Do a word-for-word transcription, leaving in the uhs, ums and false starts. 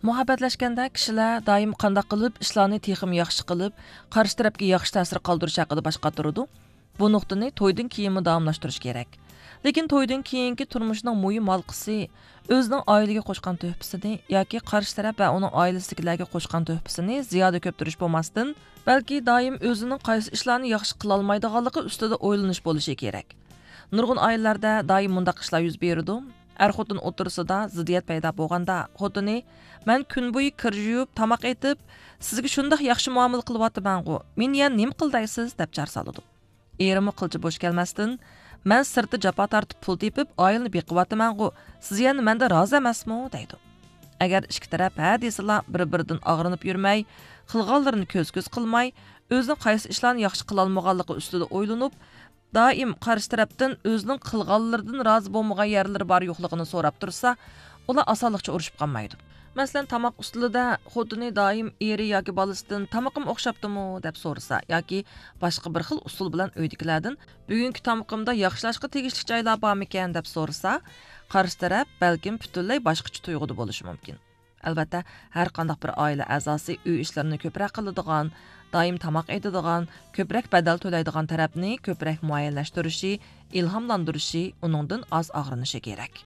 مۇھەببەتلەشكەندە كىشىلەر دائىم قانداق قىلىپ ئىشلارنى تېخىمۇ ياخشى قىلىپ، قارشى تەرەپكە ياخشى تەسىر قالدۇرۇش ھەققىدە باش قاتۇرىدۇ. بۇ نۇقتىنى تويدىن كېيىنمۇ داۋاملاشتۇرۇش كېرەك. لېكىن تويدىن كېيىنكى تۇرمۇشنىڭ مۇھىم ھالقىسى ئۆزىنىڭ ئائىلىگە قوشقان تۆھپىسىنى ياكى قارشى تەرەپ ۋە ئۇنىڭ ئائىلىسىدىكىلەرگە قوشقان تۆھپىسىنى زىيادە كۆپتۈرۈش بولماستىن، بەلكى دائىم ئۆزىنىڭ قايسى ئىشلارنى ياخشى قىلالمايدىغانلىقى ئۈستىدە ئويلىنىش بولۇشى كېرەك. نۇرغۇن ئائىلىلەردە دائىم مۇنداق ئىشلار يۈز بېرىدۇ. ئەر-خوتۇن ئوتتۇرىسىدا زىددىيەت پەيدا بولغاندا، خوتۇنى، «مەن كۈن بويى كىر يۇيۇپ، تاماق ئېتىپ، سىزگە شۇنداق ياخشى مۇئامىلە قىلىۋاتىمەنغۇ، مېنى يەنە نېمە قىلدايسىز؟» دەپ جار سالىدۇ. ئېرىمۇ قىلچە بوش كەلمەستىن، «مەن سىرتتا جاپا تارتىپ پۇل تېپىپ، ئائىلىنى بېقىۋاتىمەنغۇ، سىز يەنە مەندە رازى ئەمەسمۇ؟» دەيدۇ. ئەگەر ئىككى تەرەپ ھە دېسىلا، بىر-بىرىدىن ئاغرىنىپ يۈرمەي، قىلغانلىرىنى كۆز-كۆز قىلماي، ئۆزىنىڭ قايسى ئىشلارنى ياخشى قىلالمىغانلىقى ئۈستىدە ئويلىنىپ، دائىم قارشى تەرەپتىن ئۆزىنىڭ قىلغانلىرىدىن رازى بولمىغان يەرلىرى بار يوقلۇقىنى سوراپ تۇرسا، ئۇلار ئاسانلىقچە ئۇرۇشۇپ قالمايدۇ. مەسىلەن، تاماق ئۈستىلىدە خوتۇنى دائىم ئېرى ياكى بالىسىدىن «تامىقىم ئوخشاپتىمۇ؟» دەپ سورىسا ياكى باشقا بىر خىل ئۇسۇل بىلەن ئۆيدىكىلەردىن «بۈگۈنكى تامىقىمدا ياخشىلاشقا تېگىشلىك جايلار بارمىكەن؟» دەپ سورىسا، قارشى تەرەپ بەلكىم پۈتۈنلەي باشقىچە تۇيغۇدا بولۇشى مۇمكىن. ئەلۋەتتە، ھەر قانداق بىر ئائىلە ئەزاسى ئۆي ئىشلىرىنى كۆپرەك قىلىدىغان، دائىم تاماق ئېتىدىغان، كۆپرەك بەدەل تۆلەيدىغان تەرەپنى كۆپرەك مۇئەييەنلەشتۈرۈشى، ئىلھاملاندۇرۇشى، ئۇنىڭدىن ئاز ئاغرىنىشى كېرەك.